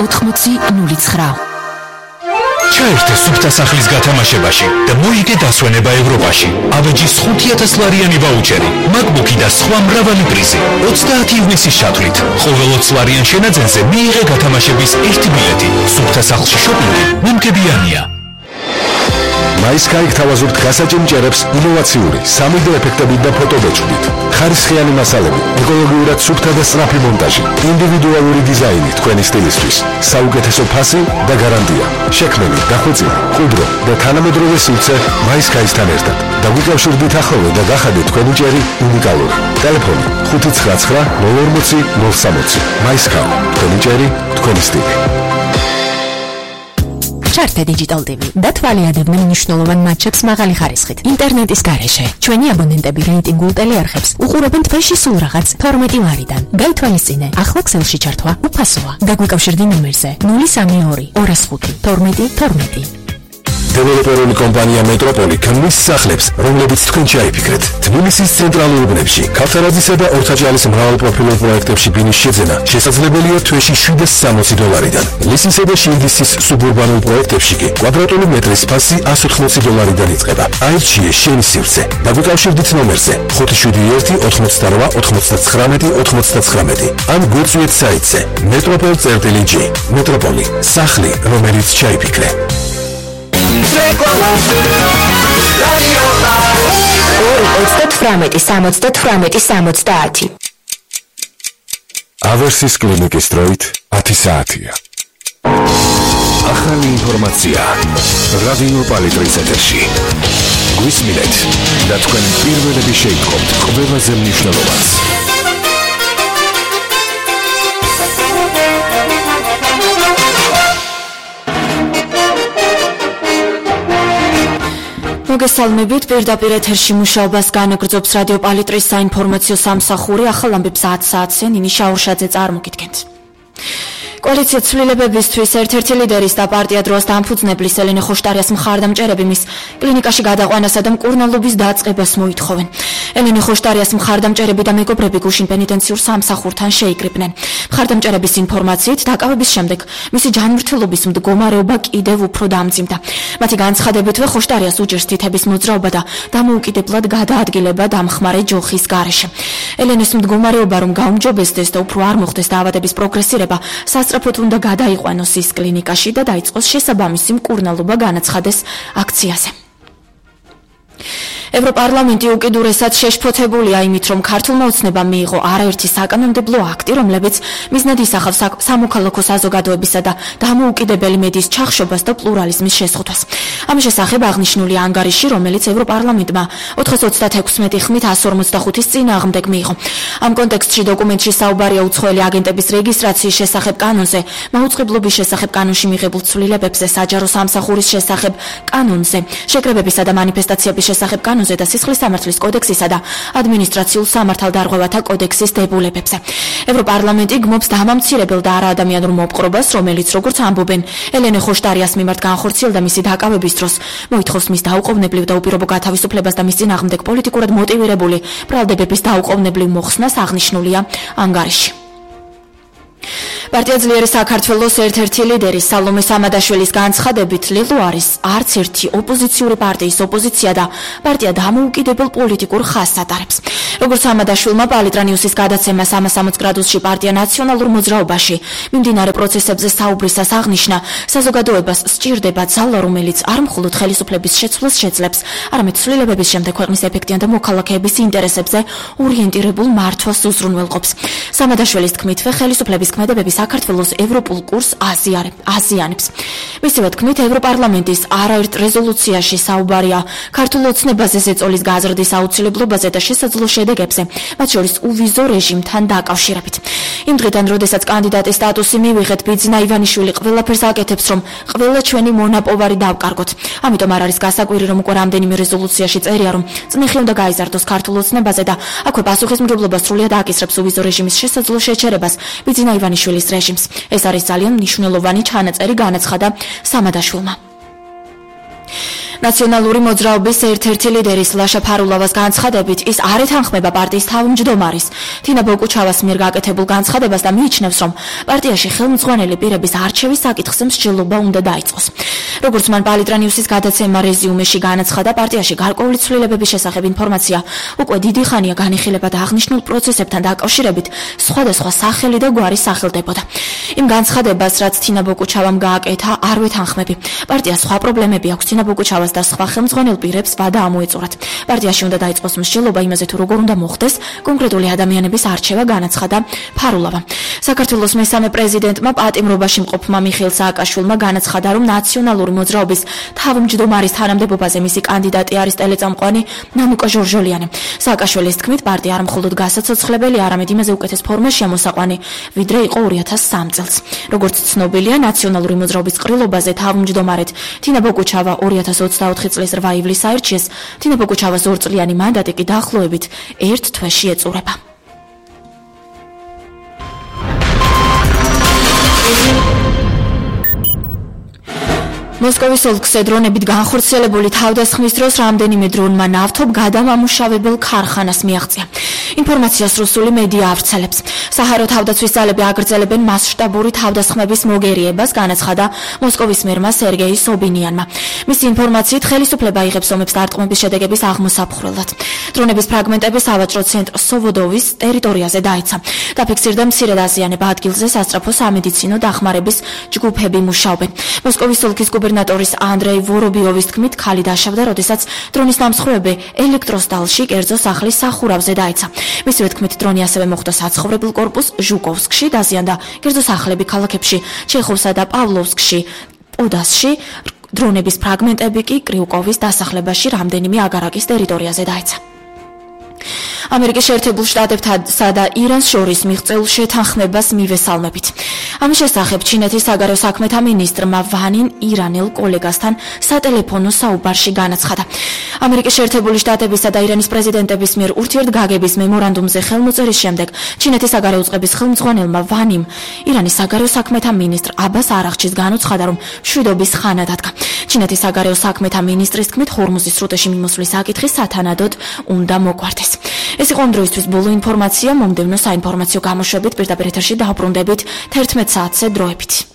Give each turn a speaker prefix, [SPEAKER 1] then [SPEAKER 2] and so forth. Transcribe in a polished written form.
[SPEAKER 1] 8009.
[SPEAKER 2] ჩაერთე სუფთა სახლის გათამაშებაში და მოიგე დასვენება ევროპაში. ავეჯის 5,000 ლარიანი ვაუჩერი, MacBook-ი და სხვა მრავალი პრიზი. 30 ივნისის ჩათვლით. ყოველ 20 ლარიან შენაძენზე მიიღე გათამაშების 1 ბილეთი. სუფთა სახლში შოპინგი მიმგებიანია.
[SPEAKER 3] MySky გთავაზობთ გასაჭიმჭერებს ინოვაციური 3D ეფექტებით და ფოტობეჭდით. ხარისხიანი მასალები, ეკოლოგიურად სუფთა და სწრაფი მონტაჟი, ინდივიდუალური დიზაინი თქვენი სტილისთვის, საუკეთესო ფასი და გარანტია. შექმნილი, დახვეწილი, მყუდრო და თანამედროვე სივრცე MySky-სთან ერთად. დაგვიკავშირდით ახლოვე და გახადეთ თქვენი ჭერი უნიკალური. ტელეფონი 599 040 060. MySky, თქვენი ჭერი, თქვენი სტილი.
[SPEAKER 1] ჩართე Digital TV და თვალიადებდნენ მნიშვნელოვან მატჩებს მაღალი ხარისხით. ინტერნეტის გარეშე. ჩვენი აბონენტები რეიტინგულ ტელეარხებს უყურებენ თვეში სულ რაღაც 12 ლარიდან. გაითვალისწინე, ახლა ქსელში ჩართვა უფასოა. დაგვიკავშირდი ნომერზე 032 205 12 12.
[SPEAKER 3] დეველოპერული კომპანია მეტროპოლი ქმნის სახლებს, რომლებიც თქვენ შეიფიქრეთ. თბილისის ცენტრალურ უბნებში, ქავთარაძისა და ორთაჭალის მრავალპროფილურ პროექტებში ბინის შეძენა შესაძლებელია თვეში $760-დან. ლისისა და შილდისის სუბურბანულ პროექტებში კი კვადრატული მეტრის ფასი $180-დან იწყება. აირჩიე შენი სივრცე. დაგვიკავშირდით ნომერზე 571 88 99 99 ან გვიწვიეთ საიტზე metropol.g. მეტროპოლი, სახლი, რომელიც შეიფიქრე.
[SPEAKER 1] 2-38-70-70.
[SPEAKER 3] ავერსის კლინიკის დროით 10 საათია.
[SPEAKER 2] ახალი ინფორმაცია რადიო პალიტრის ეთერში. გვისმინეთ და თქვენ პირველები შეიტყობთ ყველაზე მნიშვნელოვანს.
[SPEAKER 4] მოგესალმებით, პირდაპირ ეთერში მუშაობას განაგრძობს რადიო პალიტრის საინფორმაციო სამსახური. ახალ ამბებს 10 საათზე ნინი შაურშაძე წარმოგიდგენთ. კოალიცია ცვლილებებისთვის ერთ-ერთი ლიდერის და პარტია დროას დამფუძნებლის ელენე ხოშტარიას მხარდამჭერები მის კლინიკაში გადაყვანასა და მკურნალობის დაწყებას მოითხოვენ. ელენე ხოშტარიას მხარდამჭერები და მეგობრები გუშინ პენიტენციურ სამსახურთან შეიკრიბნენ. მხარდამჭერების ინფორმაციით, დაკავების შემდეგ მისი ჯანმრთელობის მდგომარეობა კიდევ უფრო დამძიმდა. მათი განცხადებითვე ხოშტარიას უჭერს თითების მოძრაობა და დამოუკიდებლად გადაადგილება დამხმარე ჯოხის გარეშე. ელენეს მდგომარეობა რომ გაუმჯობესდეს და უფრო არ მოხდეს დაავადების პროგრესირება, სასწრაფოდ უნდა გადაიყვანოს ის კლინიკაში და დაიწყოს შესაბამისი მკურნალობა განაცხადეს აქციაზე. ევროპარლამენტი უკიდურესად შეშფოთებულია იმით, რომ ქართულმა ოცნებამ მიიღო არაერთი საკანონმდებლო აქტი, რომლებიც მიზნად ისახავს სამოქალაქო საზოგადოებისა და დამოუკიდებელი მედიის ჩახშობას და პლურალიზმის შესწავლას. ამ შესახებ აღნიშნული ანგარიში, რომელიც ევროპარლამენტმა 436 ხმით 145-ის წინააღმდეგ მიიღო. ამ კონტექსტში დოკუმენტში საუბარია უცხოელი აგენტების რეგისტრაციის შესახებ კანონზე, მაუწყებლობის შესახებ კანონში მიღებულ ცვლილებებზე, საჯარო სამსახურის შესახებ კანონზე, შეკრებებისა და მანიფესტაციების შესახებ კანონზე და სისხლის სამართლის კოდექსისა და ადმინისტრაციულ სამართალდარღვევათა კოდექსის დებულებებზე. ევროპარლამენტი გმობს დამამცირებელ და არაადამიანურ მოპყრობას, რომელიც, როგორც ამბობენ, ელენე ხოშტარიას მიმართ განხორციელდა მისი დაკავების დროს, მოითხოვს მის დაუყოვნებლივ და უპირობო გათავისუფლებას და მის წინააღმდეგ პოლიტიკურად მოტივირებული ბრალდებების დაუყოვნებლივ მოხსნას აღნიშნულია ანგარიში. პარტია ძლიერი საქართველოს ერთ-ერთი ლიდერი სალომე სამადაშვილის განცხადებით, ლილო არის არც ერთი ოპოზიციური პარტიის ოპოზიცია და პარტია დამოუკიდებელ პოლიტიკურ ხაზს ატარებს. როგორც სამადაშვილმა პალიტრა ნიუსის გადაცემა 360 გრადუსში პარტია ნაციონალურ მოძრაობაში მიმდინარე პროცესებზე საუბრისას აღნიშნა, საზოგადოებას სჭირდება ძალა, რომელიც არ მხოლოდ ხელისუფლების შეცვლას შეძლებს, არამედ ცვლილებების შემდეგ ქვეყნის ეფექტიან და მოქალაქეების ინტერესებზე ორიენტირებულ მართვას უზრუნველყოფს. სამადაშვილის თქმითვე, ხელისუფლების ქმედებები საქართველოს ევროპულ კურსს აზიანებს. მისივე თქმით, ევროპარლამენტის არაერთ რეზოლუციაში საუბარია ქართულ ოცნებაზე ზეწოლის გაზრდის აუცილებლობაზე და შესაძლო შედეგებზე, მათ შორის უვიზო რეჟიმთან დაკავშირებით. იმ დღიდან, როდესაც კანდიდატის სტატუსი მივიღეთ, ბიძინა ივანიშვილი ყველაფერს აკეთებს, რომ ყველა ჩვენი მონაპოვარი დავკარგოთ. ამიტომ არ არის გასაკვირი, რომ უკვე რამდენიმე რეზოლუციაში წერია, რომ წნეხი უნდა გაიზარდოს ქართულ ოცნებაზე და აქვე პასუხისმგებლობა სრულიად აკისრებს უვიზო რეჟიმის შესაძლო შეჩერებას ბიძინა ივანიშვილის რეჟიმს. ეს არის ძალიან მნიშვნელოვანი ჩანაწერი, განაცხადა სამადაშვილმა. ნაციონალური მოძრაობის ერთ-ერთი ლიდერის ლაშა ფარულავას განცხადებით ის არ ეთანხმება პარტიის თავმჯდომარის თინა ბოკუჩავას მიერ გაკეთებულ განცხადებას და მიიჩნევს, რომ პარტიაში ხელმძღვანელი პირების არჩევის საკითხზე მსჯელობა უნდა დაიწყოს. როგორც მან პალიტრანიუსის გადაცემა რეზიუმეში განაცხადა, პარტიაში გარკვეული ცვლილებების შესახებ ინფორმაცია უკვე დიდი ხანია განიხილება და აღნიშნულ პროცესებთან დაკავშირებით სხვადასხვა სახელი და გვარი სახელდებოდა. იმ განცხადებას, რაც თინა ბოკუჩავამ გააკეთა, არ ვეთანხმები. პარტიას სხვა პრობლემები აქვს, თინა ბოკუჩავას და სხვა ხელმძღვანელ პირებს ვადა ამოეწურათ. პარტიაში უნდა დაიწყოს მსჯელობა იმაზე, თუ როგორ უნდა მოხდეს კონკრეტული ადამიანების არჩევა, განაცხადა ფარულავა. საქართველოს მესამე პრეზიდენტმა პატიმრობაში მყოფმა მიხეილ სააკაშვილმა განაცხადა, რომ ნაციონალური მოძრაობის თავმჯდომარის თანამდებობაზე მისი კანდიდატი არის ტელეწამყვანი ნანუკა ჟორჟოლიანი. სააკაშვილის თქმით, პარტია არ მხოლოდ გასაცოცხლებელი, არამედ იმაზე უკეთეს ფორმაშია მოსაყვანი, ვიდრე იყო 2003 წელს. როგორც ცნობილია, ნაციონალური მოძრაობის ყრილობაზე თავმჯდომარედ თინა ბოკუჩავა 2024 წლის 8 ივლისს აირჩიეს. თინა ბოკუჩავას 2 წლიანი მანდატი კი დაახლოებით 1 თვეში ეწურება. მოსკოვის ოლქზე დრონებით განხორციელებული თავდასხმის დროს რამდენიმე დრონმა ნავთობ გადამამუშავებელ ქარხანას მიაღწია. ინფორმაციას რუსული მედია ავრცელებს. საჰარო თავდაცვის ძალები აგრძელებენ მასშტაბური თავდასხმების მოგერიებას, განაცხადა მოსკოვის მერმა სერგეი სობინიანმა. მისი ინფორმაციით, ხელისუფლება იღებს ომებს დარტყმების შედეგების აღმოსაფხვრელად. დრონების ფრაგმენტები სავაჭრო ცენტრ სოვოდოვის ტერიტორიაზე დაეცა. დაფიქსირდა მცირე დაზიანება, ადგილზე სასწრაფო სამედიცინო დახმარების ჯგუფები მუშაობენ. მოსკოვის ოლქის გუბერნატორის ანდრეი ვორობიოვის თქმით, ქალი დაშავდა, როდესაც დრონის დამსხვრევები ელექტროსტალში კერძო სახლის სახურავზე დაეცა. მისივე თქმით, დრონი ასევე მოხვდა საცხოვრებელ კორპუს ჟუკოვსკში, დაზიანდა კერძო სახლები ქალაქებში ჩეხოვსა და პავლოვსკში, პოდასში. დრონების ფრაგმენტები კი კრიუკოვის დასახლებაში რამდენიმე აგარაკის ტერიტორიაზე დაეცა. ამერიკის შეერთებულ შტატებსა და ირანს შორის მიღწეულ შეთანხმებას მივესალმებით. ამის შესახებ ჩინეთის საგარეო საქმეთა მინისტრმა ვანინ ირანელ კოლეგასთან სატელეფონო საუბარში განაცხადა. ამერიკის შეერთებული შტატებისა და ირანის პრეზიდენტების მიერ ურთიერთგაგების მემორანდუმზე ხელმოწერის შემდეგ ჩინეთის საგარეო უწყების ხელმძღვანელმა ვანიმ ირანის საგარეო საქმეთა მინისტრ აბას არაღჩის განუცხადა, რომ მშვიდობის ხანა დადგა. ჩინეთის საგარეო საქმეთა მინისტრის თქმით, ჰორმუზის სრუტეში მიმოსვლის საკითხი სათანადოდ უნდა მოგვარდეს. ეს იყო ამ დროისთვის ბოლო ინფორმაცია. მომდევნო საინფორმაციო გამოშვებით პირდაპირ ეთერში დავბრუნდებით 11 საათზე დროებით.